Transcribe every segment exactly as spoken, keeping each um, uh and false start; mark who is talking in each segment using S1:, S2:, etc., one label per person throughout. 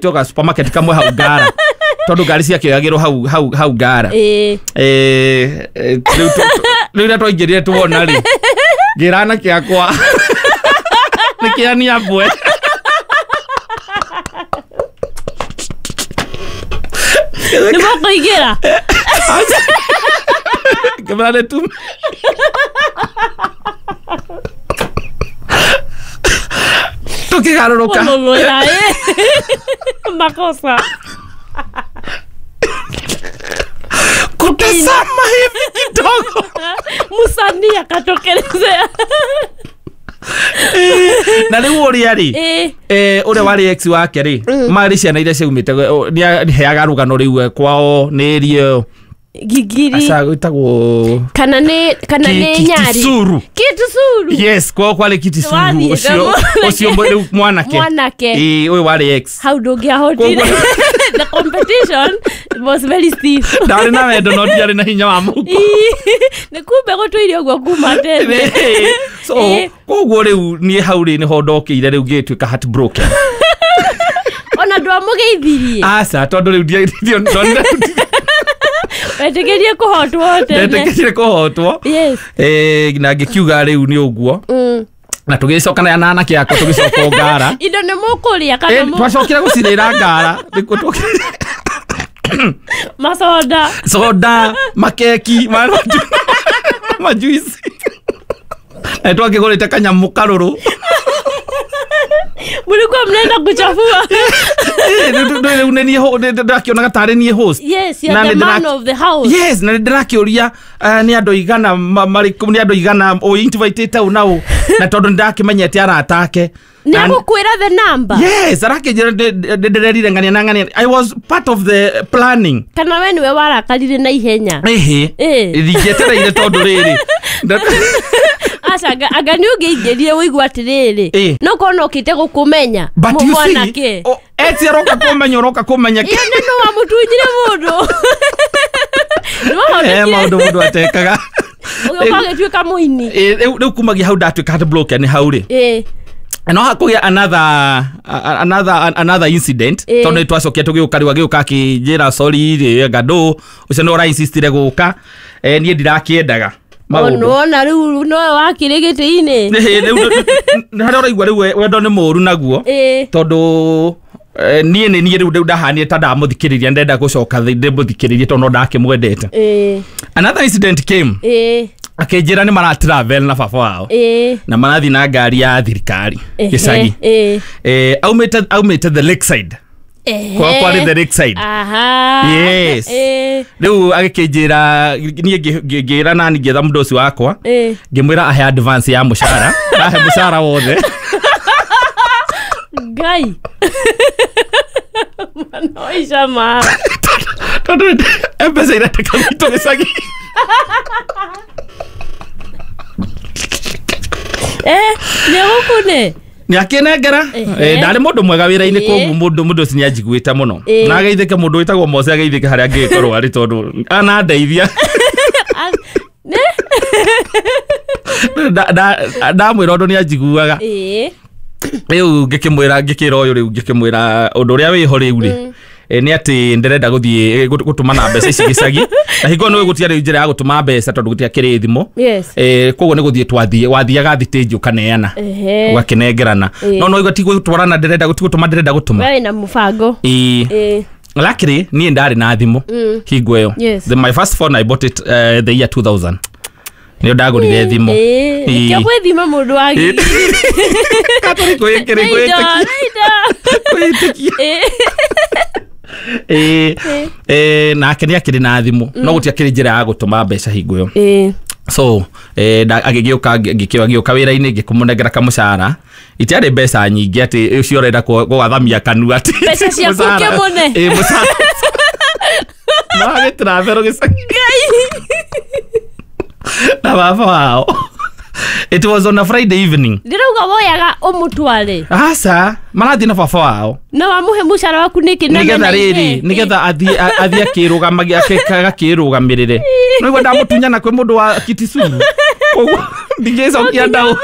S1: Toga supermarket kamwe hau Ngara tondu ngari ciakĩoyagĩrwo hau hau hau Ngara.
S2: Ĩĩ.
S1: Eh, eh, rĩu tu- rĩu rĩrĩa twaingĩrire tuona rĩ, ngĩra anake akwa nĩ kĩania mbwe.
S2: Nĩ mũkũingĩra.
S1: Ngĩmera nĩ tu tũkĩgarũrũka.
S2: Mũmũrũra, ĩ. Makosa.
S1: Kutazama hivi kidogo.
S2: Musanii akatokelezea.
S1: Na rĩu ũrĩa rĩ,
S2: Ĩ.
S1: eh, ũrĩa warĩ ex wake rĩ, marĩ ciana iria ciaumĩte, nĩaheaga rũgano rĩu, eh, kwao nĩ area ĩyo.
S2: Gigiri.
S1: Aca gwĩtagwo
S2: Kana nĩ kana
S1: Ki-
S2: nĩ
S1: Ki-
S2: Nyari.
S1: Kisuru.
S2: Kitusuru.
S1: Yes, kwao kwarĩ Kitisuru.
S2: Wathiĩte
S1: Ũcio
S2: mwanake.
S1: ũcio mwe- rĩu mwanake.
S2: Mwanake.
S1: Ĩĩ, ũyũ warĩ ex.
S2: Hau ndũngĩahotire. The competition was very stiff.
S1: Ndarĩ na wendo no ndiarĩ na hinya wa mũhuko.
S2: Nĩ kumbe gũtũire ũguo kuma tene.
S1: So
S2: Ĩĩ.
S1: koguo rĩu niĩ hau rĩ nĩho ndokĩire rĩu ngĩtuĩka heartbroken.
S2: Ona ndwamũgeithirie.
S1: Aca, tondũ rĩu ndia- ndia- ndonire
S2: Wetĩkĩrie kũhotwo tene.
S1: ndetĩkĩrire kũhotwo.
S2: Yes.
S1: Eh, na ngĩkiuga rĩu nĩ ũguo.
S2: Mm.
S1: Na tũgĩcoka na anake akwa tũgĩcoka o Ngara.
S2: Indo nĩ mũkũrĩa kana
S1: Eh,
S2: mũ-
S1: twacokire gũcirĩra Ngara. Nĩkuo tũkĩ-
S2: macoda.
S1: Soda, makeki, ma- majuici. Na twakĩgũrĩte kanyamũ karũrũ.
S2: Mlikuwa mnaenda kuchafua.
S1: Eh, rĩu- rĩu rĩu nĩ niĩ ho- nĩ- ndĩrakĩonaga tarĩ niĩ host.
S2: Yes, you're
S1: Na
S2: the
S1: nĩ
S2: man
S1: ndĩra-
S2: of the house.
S1: Yes, na nĩ ndĩrakĩũria, eh, nĩ andũ aigana ma- marĩ kũ- nĩ andũ aigana ũinvitĩte ũ na ũ, na tondũ nĩ ndakĩmenyete arata ake.
S2: Nĩ
S1: Na-
S2: agũkwĩra the number.
S1: Yes, arakĩnjĩra ndĩ- ndĩ- ndĩrerire ng'ania na ng'ania. I was part of the planning.
S2: Kana we nĩwe warakarire na ihenya.
S1: Ĩhĩ.
S2: Ĩ.
S1: Ndingĩetereire tondũ rĩrĩ. Nda-
S2: Aca, anga anga nĩ ũngĩingĩrire ũigua atĩrĩrĩ.
S1: Ĩ.
S2: No korwo no ũkĩte gũkũmenya.
S1: But you see,
S2: mwanake.
S1: o- eti aroka kũmenya, ũroka kũmenya
S2: Iyo nĩ nũ wamũtunyire mũndũ. Nĩ
S1: Eh,
S2: wahonokire.
S1: maũndũ mũndũ atekaga.
S2: Ũgĩũka ũgĩtuĩka mũini.
S1: Ĩ, rĩu rĩu kumagia hau ndatuĩka heartbroken hau rĩ.
S2: Ĩ.
S1: No hakũgĩa another another another incident,
S2: Ĩ.
S1: tondũ nĩ twacokia tũgĩũka rĩu agĩũka akĩnjĩra sorry rĩ, anga ndũ ũcio nĩ ũrainsistire gũka, eh, niĩ ndirakĩendaga maũndũ.
S2: Wona rĩu nowe wakĩrĩ gĩtĩ-inĩ.
S1: Ĩ, rĩu nĩ harĩa ũraigua rĩu we- wendo nĩ mũũru naguo.
S2: Ĩ.
S1: Tondũ eh, niĩ nĩ niĩ rĩu rĩu ndahanire ta ndamũthikĩrĩria, ndenda gũcoka thĩ ndĩmũthikĩrĩrie tondũ no ndakĩmwendete.
S2: Ĩ.
S1: Another incident came.
S2: Ĩ.
S1: Akĩnjĩra nĩ mara travel na baba wao
S2: Ĩ.
S1: na marathiĩ na ngari ya thirikari
S2: Ehe.
S1: gĩcagi.
S2: Ĩ.
S1: Eh, aumĩte aumĩte the lakeside.
S2: Ehe.
S1: Kwa kwarĩ the lakeside.
S2: Aha.
S1: Yes.
S2: Ĩ.
S1: Rĩu agĩkĩnjĩra niĩ ngĩ- ngĩ- ngĩra nani, ngĩetha mũndũ ũcio wakwa,
S2: Ĩ.
S1: ngĩmwĩra ahe advance ya mũcara, ahe mũcara wothe.
S2: Ngai. Mwana wa Icama.
S1: Tondũ M-Pesa irendeka gwitũ gĩcagi.
S2: Eh, nĩ gũkũne.
S1: Nĩ akĩnengera.
S2: Ehe.
S1: Eh, ndarĩ mũndũ mwega wĩra-inĩ,
S2: Ĩ.
S1: koguo mũndũ mũndũ ũcio nĩ anjiguĩte mũno.
S2: Ĩ.
S1: Na ageithĩke mũndũ wĩtagwo Mose, ageithĩke harĩa angĩgĩkorwo arĩ tondũ anandeithia.
S2: A- Nĩ?
S1: Nda- nda- ndamwĩra ũndũ nĩ anjiguaga.
S2: Ĩ.
S1: Rĩu ngĩkĩmwĩra, ngĩkĩra ũyũ rĩu ngĩkĩmwĩra ũndũ ũrĩa wĩho rĩu rĩ, eh, nĩ atĩ ndĩrenda gũthiĩ, eh, gũ- gũtũmana mbeca ici gĩcagi, na hingo nĩ gũtiarĩ njĩra ya gũtũma mbeca tondũ gũtiakĩrĩ thimũ.
S2: Yes.
S1: Eh, koguo nĩ gũthiĩ twathiĩ wathiaga thitĩnji ũkaneana,
S2: Ehe.
S1: ũgakĩnengerana.
S2: Ĩ.
S1: No no igua ti gũtwarana ndĩrenda, ti gũtũma ndĩrenda gũtũma.
S2: We wĩna mũbango.
S1: Ĩ.
S2: Ĩ.
S1: Luckily niĩ ndarĩ na thimũ hingo ĩyo.
S2: Yes.
S1: The, my first phone I bought it uh, the year two thousand nĩo ndagũrire thimũ.
S2: Ĩ.
S1: Ĩ.
S2: Nĩkĩo gwĩthima mũndũ wa
S1: Ĩ.
S2: ngiri.
S1: Katũrĩ kwĩĩkĩrĩ
S2: Nĩ indo,
S1: kwĩĩtĩkia.
S2: nĩ indo.
S1: Kwĩĩtĩkia.
S2: Ĩ.
S1: Ĩ. Ĩ, nake nĩ akĩrĩ na thimũ no gũtiakĩrĩ njĩra ya gũtũma mbeca hingo ĩyo.
S2: Ĩ.
S1: So eh, nda- agĩgĩũka ngĩkĩo agĩũka wĩra-inĩ, ngĩkũmũnengera kamũcara, itiarĩ mbeca nyingĩ atĩ ũcio ũrenda kũ- gũgathamia kanua atĩ
S2: Mbeca ciaku
S1: mũcara.
S2: ũkĩmũne.
S1: Ĩ, mũcara maragĩtraverwo gĩcagi na baba wao. It was on a Friday evening.
S2: Ndĩrauga woyaga ũmũtware.
S1: Aca, marathiĩ na baba wao.
S2: Na wamũhe mũcara waku nĩkĩ na
S1: Nĩgetha
S2: mena
S1: rĩrĩ
S2: ihe?
S1: nĩgetha athiĩ a- athiĩ akĩrũgamagia akĩrũgamĩrĩre, no igua ndamũtunyana kwĩ mũndũ wa Kitisuru. Koguo ndingĩcokia ndaũ.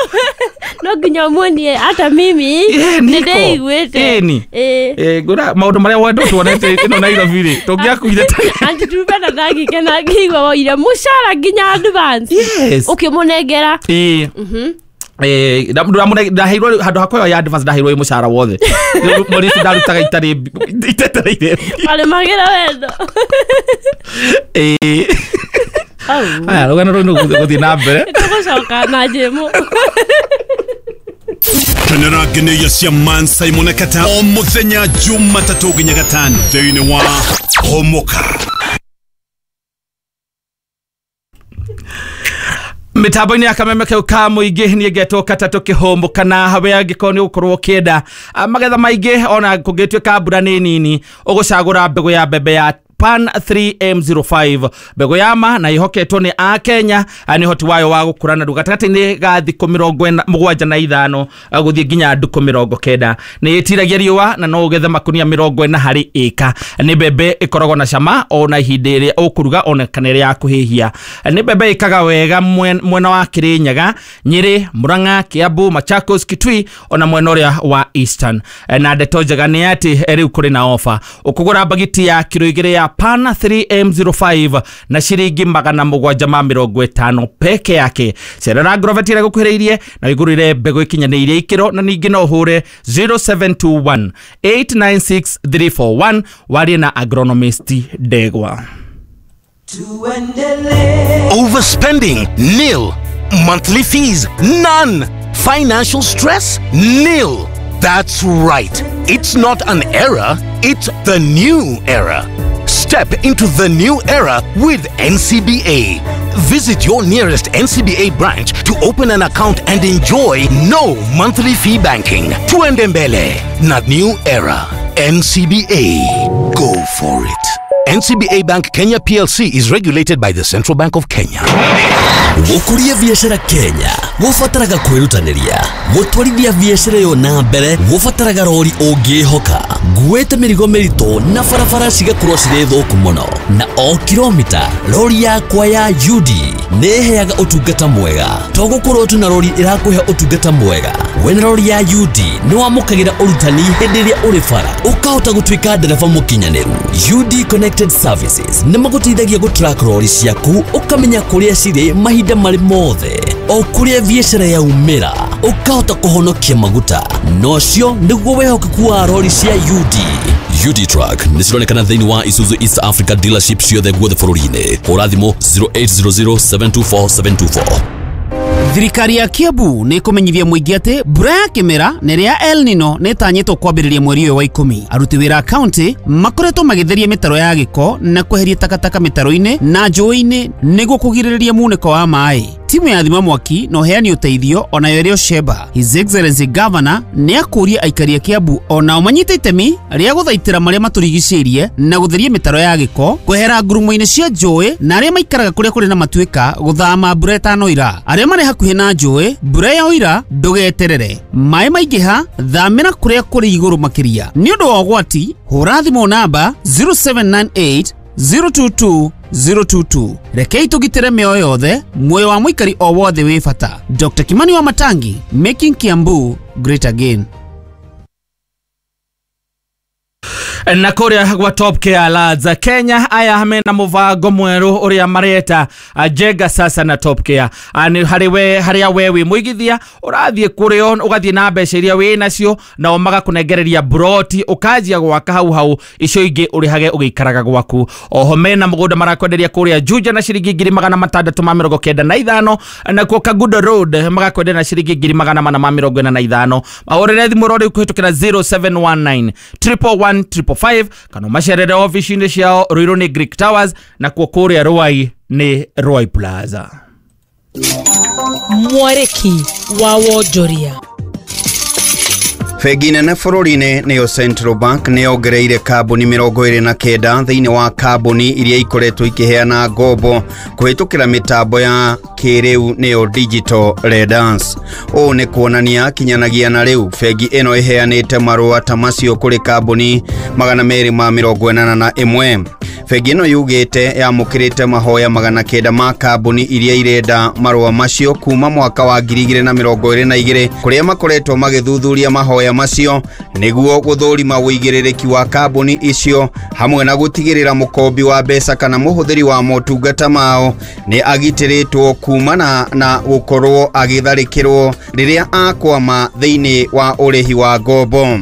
S2: No nginya muonie hata mimi
S1: Eh, niko.
S2: nĩndĩiguĩte.
S1: Ĩni.
S2: Ĩĩ.
S1: Eh, ngũra maũndũ marĩa wendo tuonete ĩno Nairobi rĩ, tũngĩakuire tene.
S2: Aunty Trupena ndangĩkena ngĩigua woire mũcara nginya advance.
S1: Yes.
S2: Ũkĩmũnengera.
S1: Ĩĩ. Eh, nda- ndamũne- ndaheirwo handũ ha kũheo ya advance, ndaheirwo ĩ mũcara wothe. Rĩu mweri ũcio ndarutaga itarĩ itetereire.
S2: Warĩmagĩra wendo.
S1: Ĩĩ.
S2: Au.
S1: Aya, rũgano rũu nĩ gũthiĩ na mbere.
S2: Tũgũcoka na njĩmũ.
S3: Kenera ngeneia cia Man Simon Kata o muthenya Jumatatũ nginya gatano thĩinĩ wa Homoka.
S1: Mitambo-inĩ ya kameme kau ka mũingĩ niĩ ngetwo Katatũ Kĩhũmbũ, kana hawe angĩkorwo nĩ ũgũkorwo ũkĩenda ah, magetha maingĩ ona kũngĩtuĩka mbura nĩ nini, ũgũcagũra mbegũ ya mbembe ya Pan three M zero five, mbegũ ya ma na ĩhoketwo nĩ a Kenya nĩ ũhoti wayo wa gũkũra narua gatagatĩ-inĩ ga thikũ mĩrongo ĩna- mũgwanja na ithano ah, gũthiĩ nginya ndukũ mĩrongo kenda. Nĩ ĩtiragia riũa na no ũgethe makunia mĩrongo ĩna harĩ ĩka. Nĩ mbembe ĩkoragwo na cama ona ihinda rĩrĩa ũkũruga ona kana ĩrĩa ya kũhĩhia. Nĩ mbembe ĩkaga wega mwen-, mwena wa Kĩrĩnyaga, Nyĩrĩ, Murang'a, Kiambu, Machakos, Kitui ona mwena ũrĩa wa Eastern. Na ndeto njega nĩ atĩ rĩu kũrĩ na ofa. Ũkũgũra mbagiti ya kiro igĩrĩ ya Pan three M zero five na ciringi magana mũgwanja ma mĩrongo ĩtano peke yake. Cerera Agrovet ĩrĩa ĩgũkuhĩrĩirie na wĩgũrĩre mbegũ ĩkinyanĩirie ikĩro, na ningĩ no ũhũre zero seven two one eight nine six three four one warie na agronomist Ndegwa.
S4: Overspending? Nil. Monthly fees? None. Financial stress? Nil. That's right. It's not an era, it's the new era. Step into the new era with N C B A. Visit your nearest N C B A branch to open an account and enjoy no monthly fee banking. Tuende mbele na new era. N C B A. Go for it. N C B A Bank Kenya P L C is regulated by the Central Bank of Kenya.
S5: Gũkũria biacara Kenya gũbataraga kwĩrutanĩria, gũtwarithia biacara ĩyo na mbere gũbataraga rori ũngĩhoka, nguĩte mĩrigo mĩritũ na barabara cigakorwo cirĩ thũku mũno, na o kilomita rori yakwa ya U D nĩ ĩheaga ũtungata mwega. To gũkorwo tu na rori ĩrakũhe ũtungata mwega, wĩna rori ya U D nĩ wamũkagĩra ũrutani hĩndĩ ĩrĩa ũrĩ bara, ũkahota gũtuĩka ndereba mũkinyanĩru. U D Connected Services nĩ magũteithagia gũtrack rori ciaku, ũkamenya kũrĩa cirĩ mahinda marĩ mothe, o kũrĩa biacara yaumĩra, ũkahota kũhonokia maguta. Na ũcio nĩguo wĩhokeku wa rori cia U D. U D Truck nĩ cironekana thĩinĩ wa Isuzu East Africa dealership ciothe guothe bũrũri-inĩ. Hũra thimũ zero eight zero zero seven two four seven two four.
S6: Thirikari ya Kiambu nĩ ĩkũmenyithia mũingĩ atĩ mbura ya kĩmera na ĩrĩa ya El Nino nĩ ĩtanyĩtwo kwambĩrĩria mweri ũyũ wa ikũmi. Aruti wĩra a kaunti makoretwo magĩtheria mĩtaro ya gĩko na kweheria takataka mĩtaro-inĩ na njũĩ-inĩ nĩguo kũgirĩrĩria munĩko wa maĩ. Timu ya thima mwaki na ũheani ũteithio onayo ĩrĩ Osheba. His Excellency Governor nĩ akũria aikari a Kiambu onao manyite itemi rĩa gũthaitĩra marĩa matũrigicĩirie na gũtheria mĩtaro ya gĩko, kwehera ngurumo-inĩ cia njũĩ, na arĩa maikaraga kũrĩa kũrĩ na matuĩka gũthama mbura ĩtanoira. Arĩa marĩ hakuhĩ na njũĩ, mbura yaoira ndũgeterere. Maĩ maingĩha, thamĩra kũrĩa kũrĩ igũrũ makĩria. Nĩ ũndũ wa ũgwati, hũra thimũ namba zero seven nine eight zero two two zero two two. Rekei tũgitĩre mĩoyo yothe, muoyo wa mũikari o wothe wĩ bata. Doctor Kimani wa Matangi, making Kiambu great again.
S1: Na kũrĩa gwa Top Care Lads Kenya aya mena mũbango mwerũ ũrĩa mareta Jenga Sasa na Top Care. Nĩ harĩ we, harĩa we wĩ mũigithia ũrathiĩ kũrĩo ũgathiĩ na mbeca iria wĩ nacio nao magakũnengereria broti ũkanjia gwaka hau hau, icio ingĩ ũrĩhage ũgĩikaraga gwaku. Oho mena mũgũnda marakwenderia kũrĩa Juja na ciringi ngiri magana matandatũ ma mĩrongo kenda na ithano, nakuo Kangundo Road magakwenderia na ciringi ngiri magana mana ma mĩrongo ĩna na ithano. Mahũrĩre thimũ rĩu kũhĩtũkĩra zero seven one nine triple one triple five kana macerere ofici-inĩ ciao Ruiru nĩ Greek Towers, nakuo kũrĩa Ruai nĩ Ruai Plaza.
S7: Mwarĩki wa wonjoria.
S8: Bengi nene bũrũri-inĩ nĩyo Central Bank nĩ yongereire kambuni mĩrongo ĩrĩ na kenda thĩinĩ wa kambuni iria ikoretwo ikĩheana ngombo kũhĩtũkĩra mĩtambo ya kĩrĩu nĩyo digital lenders. Ũũ nĩ kuonania kinyanagia na rĩu bengi ĩno ĩheanĩte marũa ta macio kũrĩ kambuni magana merĩ ma mĩrongo ĩnana na ĩmwe. Bengi ĩno yugĩte yamũkĩrĩte mahoya magana kenda ma kambuni iria irenda marũa macio kuma mwaka wa ngiri igĩrĩ na mĩrongo ĩrĩ na igĩrĩ kũrĩa makoretwo magĩthuthuria mahoya macio nĩguo gũthũrima ũigĩrĩrĩki wa kambuni icio hamwe na gũtigĩrĩra mũkombi wa mbeca kana mũhũthĩri wa motungata mao nĩ agitĩrĩtwo kumana na gũkorwo agĩtharĩkĩrwo rĩrĩa akwama thĩinĩ wa ũrĩhi wa ngombo.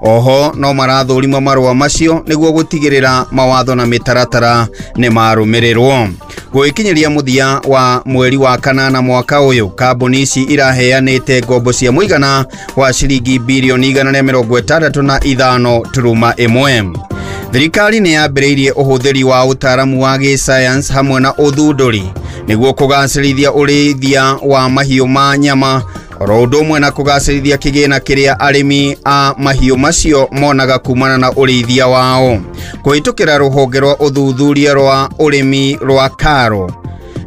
S8: Oho no marathũrima marũa macio nĩguo gũtigĩrĩra mawatho na mĩtaratara nĩ marũmĩrĩrwo. Gũgĩkinyĩria mũthia wa mweri wa kanana mwaka ũyũ, kambuni ici iraheanĩte ngombo cia mũigana wa ciringi birioni igana rĩa mĩrongo ĩtandatũ na ithano turuma ĩmwe. Thirikari nĩ yambĩrĩirie ũhũthĩri wa ũtaaramu wa gĩsayansi hamwe na ũthundũri nĩguo kũgacĩrithia ũrĩithia wa mahiũ ma nyama oro ũndũ ũmwe na kũgacĩrithia kĩgĩna kĩrĩa arĩmi a mahiũ macio monaga kumana na ũrĩithia wao. Kũhĩtũkĩra rũhonge rwa ũthuthuria rwa ũrĩmi rwa KARO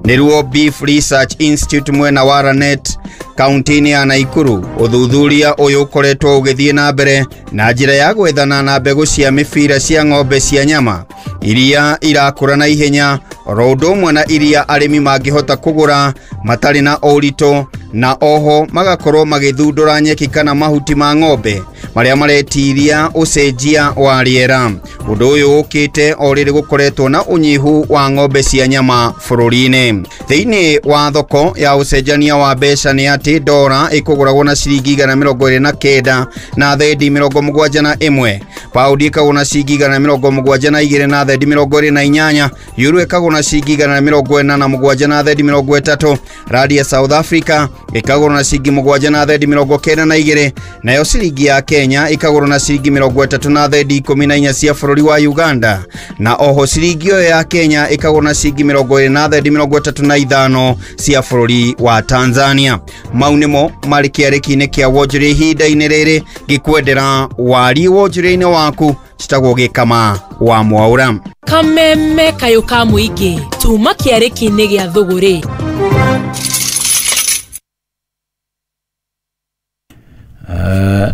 S8: nĩruo Beef Research Institute mwena wa Lanet kaunti-inĩ ya Naikuru, ũthuthuria ũyũ ũkoretwo ũgĩthiĩ na mbere na njĩra ya gwethana na mbegũ cia mĩbira cia ng'ombe cia nyama iria irakũra na ihenya oro ũndũ ũmwe na iria arĩmi mangĩhota kũgũra matarĩ na ũritũ, na oho magakorwo magĩthundũra nyeki kana mahuti ma ng'ombe marĩa maretiria ũcenjia wa rĩera. Ũndũ ũyũ ũkĩte o rĩrĩ gũkoretwo na ũnyihu wa ng'ombe cia nyama bũrũri-inĩ. Thĩinĩ wa thoko ya ũcenjania wa mbeca nĩ atĩ dora ĩkũgũragwo na ciringi igana mĩrongo ĩrĩ na kenda na thendi mĩrongo mũgwanja na ĩmwe, paundi ĩkagũrwo na ciringi igana mĩrongo mũgwanja na igĩrĩ na thendi mĩrongo ĩrĩ na inyanya, euro ĩkagũrwo na ciringi igana mĩrongo ĩna na mũgwanja na thendi mĩrongo ĩtatũ, randi ya South Africa ĩkagũrwo na ciringi mũgwanja na thendi mĩrongo kenda na igĩrĩ, nayo ciringi ya Kenya ĩkagũrwo na ciringi mĩrongo ĩtatũ na thendi ikũmi na inya cia bũrũri wa Uganda, na oho ciringi ĩyo ya Kenya ĩkagũrwo na ciringi mĩrongo ĩrĩ na thendi mĩrongo ĩtatũ na ithano cia bũrũri wa Tanzania. Mau nĩmo marĩ kĩarĩki-inĩ kĩa wonjoria ihinda-inĩ rĩrĩ, ngĩkwendera wari wonjoria-inĩ waku. Citagwo Gĩkama wa Mwaũra.
S7: Kameme kayũ ka mũingĩ tuma kĩarĩki-inĩ gĩa thũgũrĩ.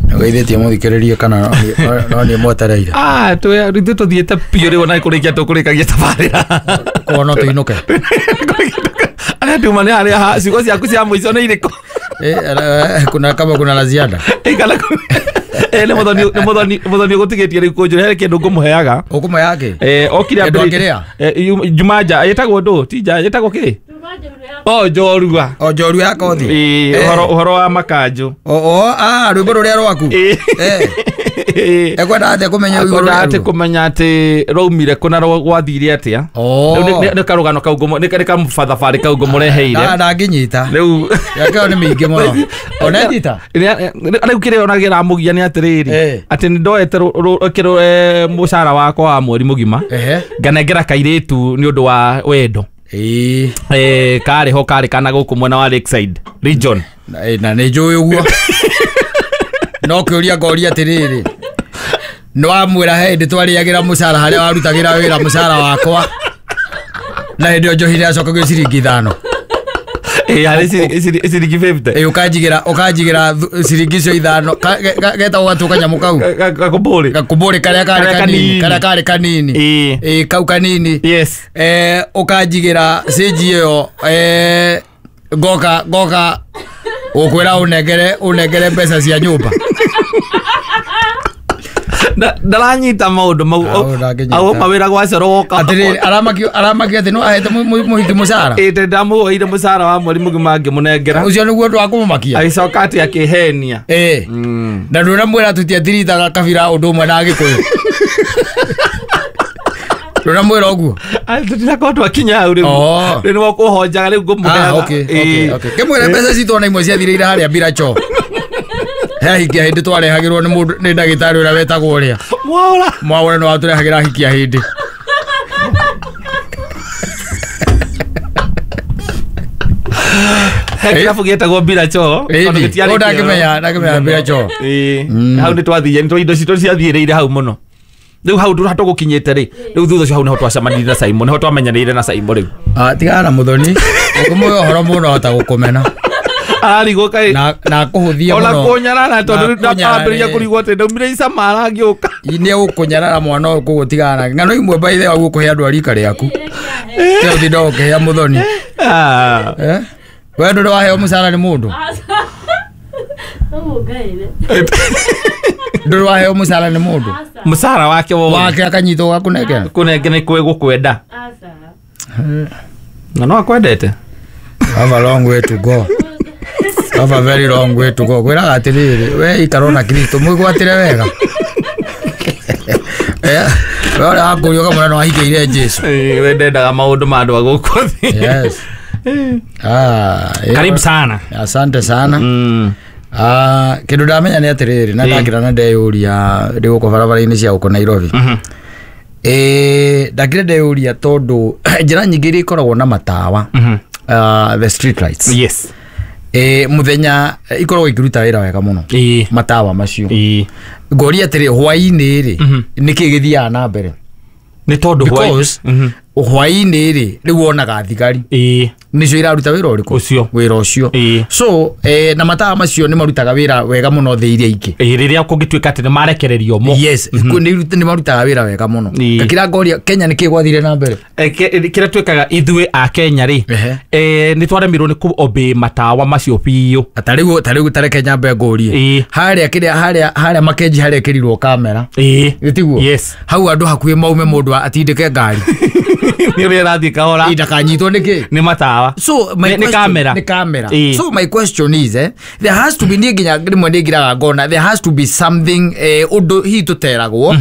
S9: Nĩgeithĩtie mũthikĩrĩria kana no nĩ mwetereire?
S1: Ah, ithuĩ tũthiĩte biũ rĩu ona kũrĩkia tũkũrĩkagia tabarĩra.
S9: Koguo no tũinũke.
S1: Arĩa tuma nĩ harĩa ciugo ciaku cia mũico nĩ irĩkũ?
S9: Kuna kama kuna la ziada.
S1: Eh, nĩ mũthoni nĩ mũthoni mũthoni ũgũtigĩtie rĩu kũnjũra he kĩndũ ngũmũheaga.
S9: Ũkũmũheaga kĩ?
S1: Eh, okire
S9: ambĩrĩria.
S1: Jumanja ĩtagwo ndũ? Ti nja ĩtagwo kĩ? O njorua.
S9: O njorua ya kothi.
S1: Ĩĩ, ũhoro ũhoro wa makanjũ.
S9: O o ah rwĩmbo rũrĩa rwaku. Eh. Ekwenda atĩa kũmenya
S1: igũrũ? Ekwenda atĩ kũmenya atĩ rwaumire kũ na gwathire atĩa. Rĩu nĩ karũgano kau ngũmũ nĩ kamũbathabarĩ kau ngũmũreheire.
S9: Na ndangĩnyita.
S1: Rĩu
S9: yake nĩ mĩingĩ mũno. Ona nyita.
S1: Rĩu kĩrĩa ona kĩramũgia nĩ atĩrĩrĩ atĩ nĩ ndoete mũcara wakwa wa mweri mũgima nganengera kairĩtu nĩ ũndũ wa wendo.
S9: Ĩĩ.
S1: Eh, karĩ ho karĩ kana gũkũ mwena wa Lakeside region.
S9: Na nĩ njũĩ ũguo. No kĩũria ngoria atĩrĩrĩ, nĩ wamwĩra he hĩndĩ twarĩagĩra mũcara harĩa warutagĩra wĩra mũcara wakwa na hĩndĩ ĩyo njohi nĩyacokagio ciringi ithano.
S1: Ĩĩ, harĩ ciringi fifty.
S9: Ĩĩ, ũkanjigĩra ũkanjigĩra ciringi icio ithano getagwo gatũ kanyamũ kau
S1: gakũmbũrĩ
S9: gakũmbũrĩ karĩa karĩ kanini karĩa karĩ kanini. Ĩĩ, kau kanini.
S1: Yes.
S9: Eh, ũkanjigĩra cĩnji ĩyo eh ngoka ngoka ũkwĩra ũnengere ũnengere mbeca cia nyũmba.
S1: Ndaranyita maũndũ mau au mawĩra gwa coro woka.
S9: Atĩrĩrĩ, aramakio aramakio atĩ no ahete mũhiki mũcara.
S1: Ĩĩ, ndamũoire mũcara wa mweri mũgima ngĩmũnengera.
S9: Ũcio nĩguo ũndũ wa kũmũmakia.
S1: Agĩcoka atĩ akĩhenia.
S9: Ĩĩ. Na ndũnamwĩra tũtiatiritaga kabira ũndũ ũmwe na Agĩkũyũ. Ndũnamwĩra ũguo?
S1: Tũtirakorwo twakinya hau rĩu. Rĩu nĩwe ũkũhonjaga rĩu ngũmũheaga.
S9: Okay, okay, okay. Kĩmwĩre mbeca citũ ona imwe ciathirĩire harĩa mbiracho. He hikia hĩndĩ twarehagĩrwo nĩ mũndũ nĩ ndagĩtarĩ ũrĩa wetagwo ũrĩa
S1: Mwaũra.
S9: Mwaũra nĩ watũrehagĩra hikia hĩndĩ.
S1: He kĩrabu gĩetagwo mbiracho tondũ gĩtiarĩ
S9: kĩo. Ndangĩmenya ndangĩmenya mbiracho.
S1: Ĩĩ, hau nĩ twathiire nĩ indo citũ ciathiĩrĩire hau mũno. Rĩu hau ndũra tũgũkinyĩte rĩ, rĩu thutha ũcio hau nĩho twacemanirie na Simon, nĩho twamenyanĩire na Simon rĩu.
S9: Ah, tigana na mũthoni, ũkũmũhe ũhoro mũno ahota gũkũmena.
S1: Ararigwo kaĩ
S9: na na kũhũthia
S1: ona
S9: mũno
S1: kũnyarara tondũ
S9: Na
S1: ndambĩrĩria
S9: kũnyarare.
S1: kũrigwo atĩ ndaumire icama arangĩũka.
S9: Nĩ egũkũnyarara mwana ũyũ kũgũtigana nake. Ng'ano imwe by the way gũkũhe andũ a rika rĩaku tiga ũtinda ũkĩhea mũthoni.
S1: Ah.
S9: Eh? We ndũrĩ waheo mũcara nĩ mũndũ?
S2: No mũngaĩre.
S9: Ndũrĩ waheo mũcara nĩ mũndũ?
S1: Mũcara wake wothe.
S9: Wake akanyitwo gakũnengera?
S1: Kũnengera nĩ kwĩ gũkwenda.
S2: Aca.
S1: Na no akwendete.
S9: Have a long way to go. Have a very long way to go. Kwĩraga atĩrĩrĩ, we ikara na Kristo mwĩgwatĩre wega. Eh, we ũrĩa wakũrio ũkamwĩra nĩ wahikĩire Jesu.
S1: Eh, we ndendaga maũndũ ma andũ a gũkũ thĩ.
S9: Yes. Ah, ĩyo-
S1: Karibu sana.
S9: Asante sana.
S1: Mm.
S9: Ah, kĩndũ ndamenya nĩ atĩrĩrĩ na
S1: Ĩĩ.
S9: ndakĩra na ndeyũria ndĩ gũkũ barabara-inĩ cia gũkũ Nairobi.
S1: Mhm.
S9: Ĩĩ, ndakĩra ndeyũria tondũ njĩra nyingĩ iria ikoragwo na matawa,
S1: Mhm.
S9: ah, the street lights.
S1: Yes.
S9: Ĩĩ, mũthenya eh, ikoragwo ikĩruta wĩra wega mũno
S1: Ĩĩ.
S9: matawa macio.
S1: Ĩĩ.
S9: Ngoria atĩrĩ, hwaĩ-inĩ rĩ,
S1: Mhm.
S9: nĩkĩ gĩthiaga na mbere?
S1: Nĩ tondũ hwaĩ-
S9: Because
S1: Mhm.
S9: hwaĩ-inĩ rĩ, rĩu wonaga thigari
S1: Ĩĩ.
S9: nĩcio iraruta wĩra ũrĩkũ?
S1: Ũcio.
S9: Wĩra ũcio.
S1: Ĩĩ.
S9: So eh, na matawa macio nĩ marutaga wĩra wega mũno thĩ iria ingĩ.
S1: Ĩĩ, rĩrĩa kũngĩtuĩka atĩ nĩ marekererio mo.
S9: Yes, nĩ nĩ marutaga wĩra wega mũno.
S1: Ĩĩ.
S9: Ngakira ngoria Kenya nĩkĩ gwathire na mbere?
S1: Eh, ke- kĩrĩa twĩkaga ithuĩ a Kenya rĩ,
S9: Ehe.
S1: eh, nĩ twaremirwo nĩ kũ obey matawa macio biũ.
S9: Ta rĩu ta rĩu tareke nyambe ngũrie.
S1: Ĩĩ.
S9: Harĩa kĩrĩa harĩa harĩa Makenji harĩa ĩkĩrirwo kamera.
S1: Ĩĩ.
S9: Gĩtiguo?
S1: Yes.
S9: Hau andũ hakuhĩ maume mũndũ atindĩke ngari.
S1: Nĩ ũrĩa ĩrathiĩ kahora.
S9: Ĩ, ndakanyitwo nĩkĩ?
S1: Nĩ matawa.
S9: So my
S1: Nĩ- nĩ
S9: question-
S1: kamera.
S9: nĩ kamera.
S1: Ĩĩ.
S9: So my question is, eh, there has to be, niĩ nginya rĩmwe nĩ ngiraga ngona there has to be something, eh, ũndũ hihi tũteragwo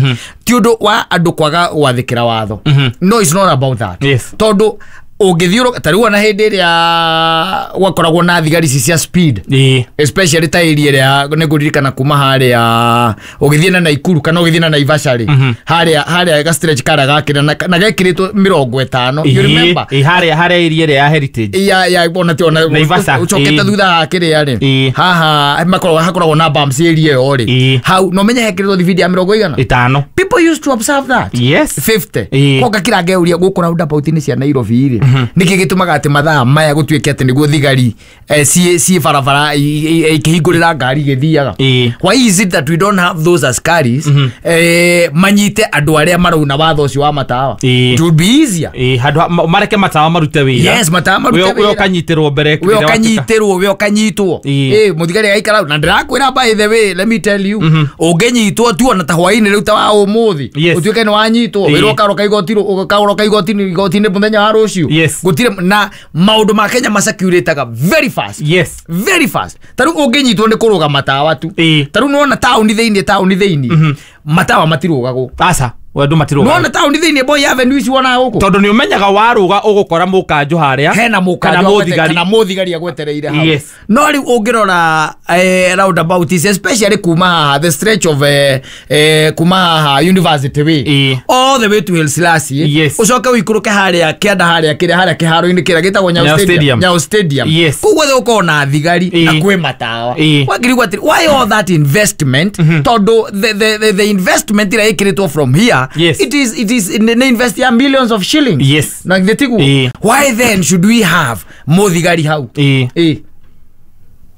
S9: ti ũndũ wa andũ kwaga gwathĩkĩra watho. No, it's not about that.
S1: Yes.
S9: Tondũ ũngĩthiũrũka ta rĩu ona hĩndĩ ĩrĩa gwakoragwo na thigari ici cia speed,
S1: Ĩĩ.
S9: especially ta area ĩrĩa nĩ ngũririkana kuma harĩa ũgĩthiĩ na Naikuru kana ũgĩthiĩ na Naivasha rĩ, harĩa harĩa ga stretch karĩa gakĩra na na gekĩrĩtwo mĩrongo ĩtano, you
S1: Ĩĩ.
S9: remember?
S1: Ĩĩ, harĩa harĩa area ĩrĩa ya Heritage.
S9: Ya ya ona ti ona
S1: Naivasha,
S9: ũcokete
S1: ĩĩ.
S9: thutha wa kĩrĩa rĩ,
S1: Ĩĩ.
S9: haha makoragwo hakoragwo na bumps area ĩyo rĩ,
S1: Ĩĩ.
S9: hau no menye hekĩrĩtwo thibindi ya mĩrongo igana.
S1: Ĩtano.
S9: People used to observe that.
S1: Yes.
S9: fifty.
S1: Ĩĩ.
S9: Ko ngakira ngeuria gũkũ roundabout-inĩ cia Nairobi rĩ, nĩkĩ gĩtũmaga atĩ mathaa maya gũtuĩke atĩ nĩguo thigari eh, ciĩ ciĩ barabara i- i- ikĩhingũrĩra ngari igĩthiaga?
S1: Ĩĩ.
S9: Why is it that we don't have those askaris eh, manyite andũ arĩa marauna watho ũcio wa matawa?
S1: Ĩĩ.
S9: It would be easier.
S1: Ĩĩ, handũ ha- ma- mareke matawa marute wĩra.
S9: Yes, matawa marute
S1: We- we
S9: wĩra.
S1: ũkanyitĩrwo mbere
S9: We
S1: rĩrĩa watuĩka-
S9: ũkanyitĩrwo, we ũkanyitwo.
S1: Ĩĩ.
S9: Ĩ, mũthigari agaikara hau. Na ndĩrakwĩra, by the way, let me tell you, ũngĩnyitwo tu ona ta hwaĩ-inĩ rĩu ta wa ũmũthĩ,
S1: Yes.
S9: ũtuĩke nĩ wanyitwo,
S1: Ĩĩ.
S9: wĩrwo ũkaroka igoti ũkaroka igoti-inĩ igoti-inĩ mũthenya wa rũciũ.
S1: Yes.
S9: Gũtirĩ na maũndũ ma Kenya macirculataga very fast.
S1: Yes.
S9: Very fast. Ta rĩu ũngĩnyitwo nĩ kũrũga matawa tu,
S1: Ĩĩ.
S9: ta rĩu nĩwona taũni thĩinĩ taũni thĩinĩ matawa matirũgagwo.
S1: Aca, we andũ matirũgaga.
S9: Nĩwona taũni thĩinĩ Moi Avenue ici wonaga gũkũ,
S1: tondũ nĩ ũmenyaga warũga ũgũkora mũkanjũ harĩa
S9: hena
S1: kana
S9: mũkanjũ agwete-
S1: mũthigari.
S9: kana mũthigari agwetereire hau.
S1: Yes.
S9: No rĩu ũngĩrora eh, roundabout ici, especially kuma haha the stretch of eh, eh, kuma haha University Way
S1: Ĩĩ.
S9: all the way to Haile Selassie,
S1: Yes.
S9: ũcoke ũikũrũke harĩa kĩanda harĩa kĩrĩa harĩa kĩharo-inĩ kĩrĩa gĩtagwo Nyayo
S1: Nyayo
S9: Stadium.
S1: Stadium.
S9: Nyayo Stadium.
S1: Yes.
S9: Kũu guothe gũkoragwo na thigari
S1: Ĩĩ.
S9: na kwĩ matawa.
S1: Ĩĩ.
S9: Wakĩrigwo atĩrĩ, why all that investment? Tondũ the, the, the, the investment ĩrĩa ĩkĩrĩtwo from here,
S1: Yes.
S9: it is, it is nĩ invest ya millions of shillings.
S1: Yes.
S9: Na githĩ tiguo?
S1: Ĩĩ.
S9: Why then should we have mũthigari hau?
S1: Ĩĩ.
S9: Ĩĩ.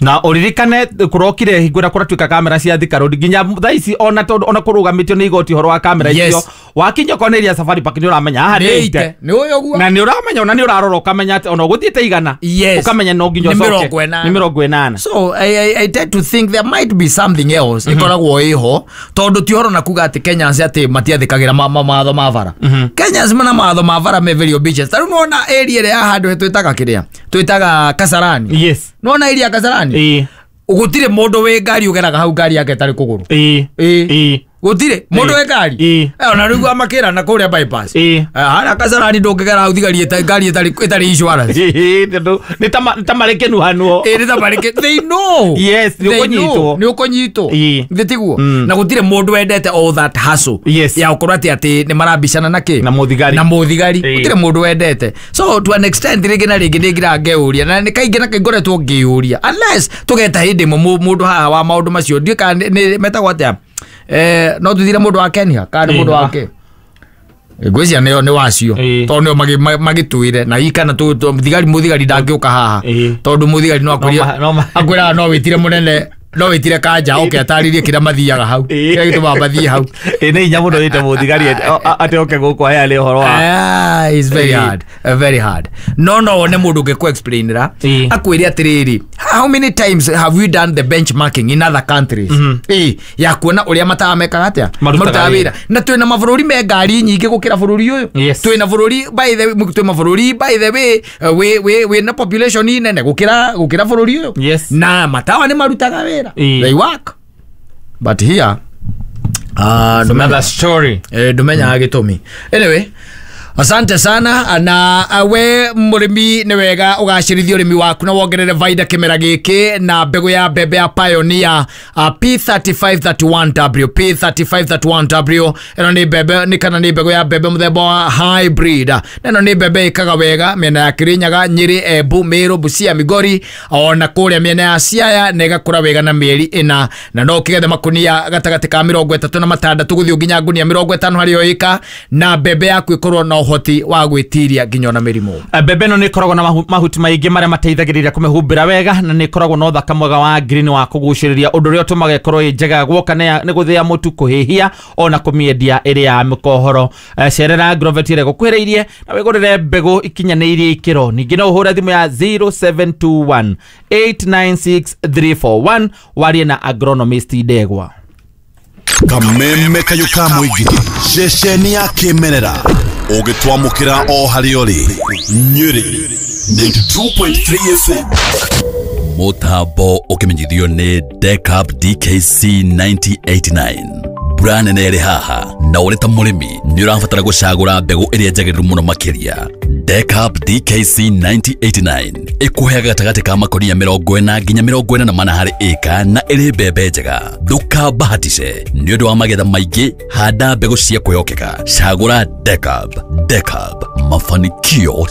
S1: Na ũririkane kũrokire hingo ĩrĩa kũratuĩka kamera cia Thika Road nginya thaa ici ona tondũ ona kũrũgamĩtio nĩ igoti ũhoro wa kamera
S9: Yes.
S1: icio, wakinya okorwo nĩ area Safari Park nĩ ũramenya haha
S9: Nĩ
S1: nĩ
S9: ite.
S1: ite.
S9: Nĩ ũyũ ũguo.
S1: Na nĩ ũramenya ona nĩ ũrarora ũkamenya atĩ ona ũgũthiĩte igana,
S9: Yes.
S1: ũkamenya no nginya
S9: Nĩ
S1: ũcoke.
S9: mĩrongo ĩnana.
S1: Nĩ mĩrongo ĩnana.
S9: So I, I, I tend to think there might be something else ĩkoragwo ĩho, tondũ ti ũhoro na kuga atĩ Kenyans atĩ matiathĩkagĩra ma- ma- mawatho ma bara. Kenyans mana mawatho ma bara me very obedient. Ta rĩu nĩwona area ĩrĩa ya handũ twĩtaga kĩrĩa twĩtaga Kasarani?
S1: Yes.
S9: Nĩwona area ya Kasarani?
S1: Ĩĩ.
S9: Gũtirĩ mũndũ wĩ ngari ũgeraga hau ngari yake ĩtarĩ kũgũrũ.
S1: Ĩĩ.
S9: Ĩĩ.
S1: Ĩĩ.
S9: Gũtirĩ mũndũ wĩ ngari.
S1: Ĩĩ.
S9: Eh, ona rĩu amakĩra na kũrĩa bypass.
S1: Ĩĩ.
S9: Eh, harĩa Kasarani ndũngĩgera hau thigari ĩta- ngari ĩtarĩ ĩtarĩ insurance.
S1: Ĩĩ, tondũ nĩ ta ma- nĩ ta marĩ kĩnuhanuo.
S9: Ĩĩ, nĩ ta marĩ kĩ- they know.
S1: Yes, nĩ
S9: They
S1: ũkũnyitwo.
S9: know, nĩ ũkũnyitwo.
S1: Ĩĩ.
S9: Githĩ tiguo?
S1: Mm.
S9: Na gũtirĩ mũndũ wendete all that hustle
S1: Yes.
S9: ya gũkorwo atĩ atĩ nĩ marambicana na kĩ
S1: Na mũthigari.
S9: na mũthigari.
S1: Ĩĩ.
S9: Gũtirĩ mũndũ wendete. So to an extent rĩngĩ na rĩngĩ nĩ ngira ngeyũria, na nĩ kaingĩ na kaingĩ ngoretwo ngĩyũria, unless tũgeta hĩndĩ ĩmwe mũ- mũndũ haha wa maũndũ macio, ndiũĩ kana nĩ- nĩ metagwo atĩa, eh, no tũthire mũndũ wa Kenya kana nĩ
S1: Ĩĩ.
S9: mũndũ wa kĩ. Ngwĩciria nĩo nĩ wacio
S1: Ĩĩ.
S9: tondũ nĩo magi- magĩtwĩre na hihi kana tũ- tũ- thigari mũthigari ndangĩũka haha
S1: Ĩĩ.
S9: tondũ mũthigari no
S1: No ma- no ma-
S9: akwĩraga no wĩtire mũnene no wĩtire kanja oke atarĩrie kĩrĩa mathiaga hau
S1: Ĩĩ.
S9: kĩrĩa gĩtũmaga mathiĩ hau.
S1: Ĩ nĩ hinya mũno wĩte mũthigari atĩ oke gũkũ aheane ũhoro wa
S9: Ah, it's very
S1: Ĩĩ.
S9: hard, uh, very hard. No no wone mũndũ ũngĩ explainera
S1: Ĩĩ.
S9: akwĩre atĩrĩrĩ, how many times have we done the benchmarking in other countries? Ĩĩ, ya kuona ũrĩa matawa mekaga atĩa,
S1: Marutaga
S9: wĩra, na twĩna mabũrũri me ngari nyingĩ gũkĩra bũrũri ũyũ.
S1: Yes.
S9: Twĩna bũrũri, by the way, twĩ mabũrũri, by the way, uh, wĩ wĩ wĩna population nene gũkĩra gũkĩra bũrũri ũyũ.
S1: Yes.
S9: Na matawa nĩ marutaga wĩra.
S1: Ĩĩ.
S9: They work, but here uh,
S1: Another story.
S9: Eh, ndũmenyaga gĩtũmi. Anyway, asante sana. Na uh, we mũrĩmi, nĩ wega ũgacĩrithie ũrĩmi waku na wongerere baida kĩmera gĩkĩ na mbegũ ya mbembe ya Pioneer uh, P three five three one W. P three five three one W ĩno nĩ mbembe nĩ kana nĩ mbegũ ya mbembe mũthemba wa hybrid, na ĩno nĩ mbembe ĩkaga wega mĩena ya Kirinyaga, Nyĩrĩ, Embu, Meru, Busia, Migori ona kũrĩa mĩena ya Siaya, na ĩgakũra wega na mĩeri ĩna, na no ũkĩgethe makunia gatagatĩ ka mĩrongo ĩtatũ na matandatũ gũthiĩ nginya ngunia mĩrongo ĩtano harĩ o ĩka, na mbembe yaku ĩkorwo na ũhoti wa gwĩtiria nginya ona mĩrimũ.
S1: Eh, mbembe ĩno nĩ ĩkoragwo na mahu- mahuti maingĩ marĩa mateithagĩrĩria kũmĩhumbĩra wega, na nĩ ĩkoragwo na ũthaka mwega wa green wa kũgucĩrĩria, ũndũ ũrĩa ũtũmaga ĩkorwo ĩ njega guoka nĩ ya- nĩ gũthĩa mũtu, kũhĩhia ona kũmĩendia ĩrĩ ya mĩkohoro. Eh, cerera Agrovet ĩrĩa ĩgũkuhĩrĩirie na wĩgũrĩre mbegũ ikinyanĩirie ikĩro. Ningĩ no ũhũre thimũ ya zero seven two one eight nine six three four one warie na agronomist Ndegwa.
S3: Kameme kayũ ka mũingĩ, ceceni ya kĩmerera ũgĩtwamũkĩra o harĩa ũrĩ, Nyĩrĩ ninety-two point three F M.
S5: Mũtambo ũkĩmenyithio nĩ Decap D K C nine zero eight nine. Mbura nene ĩrĩ haha, na ũrĩ ta mũrĩmi nĩ ũrabatara gũcagũra mbegũ ĩrĩa njagĩrĩru mũno makĩria. Decap D K C nine zero eight nine ĩkũheaga gatagatĩ ka makonia mĩrongo ĩna nginya mĩrongo ĩna na mana harĩ ĩka, na ĩrĩ mbembe njega. Ndũkambahatice nĩ ũndũ wa magetha maingĩ. Handa mbegũ cia kwĩhokeka, cagũra Decap. Decap, mafanikio.